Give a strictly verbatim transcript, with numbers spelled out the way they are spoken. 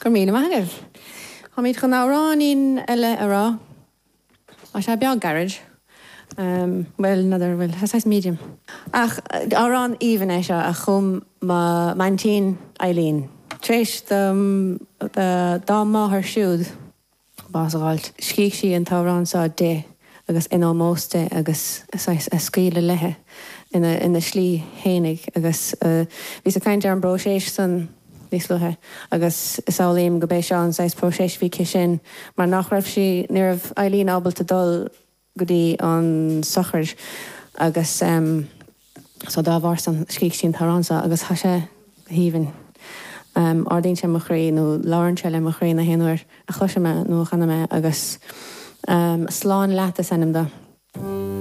Go raibh míle maith agaibh. Táimid chun amhráinín eile a rá. Tá sé beag gairid. Um, well, another, well, saghas medium. Ach amhrán aoibhinn é seo a chum m'aintín Eileen. Tar éis dá máthair siúd bás a fháilt. Scrígh sí an t-amhrán seo di agus in ómós di agus a scaoileadh léi ina, ina slí fhéinig agus uh, bhí ag caint ar an bpróiseas san níos luaithe agus samhlaím gurb é seo an saghas próiseas a bhí aici sin mar nach raibh sí ní raibh Eileen ábalta dul go dtí an sochraid agus um, so dá bharr san scrígh sí an t-amhrán seo agus tá sé go haoibhinn. Um, ardaíonn sé mo chroí nó labhraíonn sé le mo chroí na haon uair a chloisim é nó a chanaim é agus um, slán leat is ainm dó.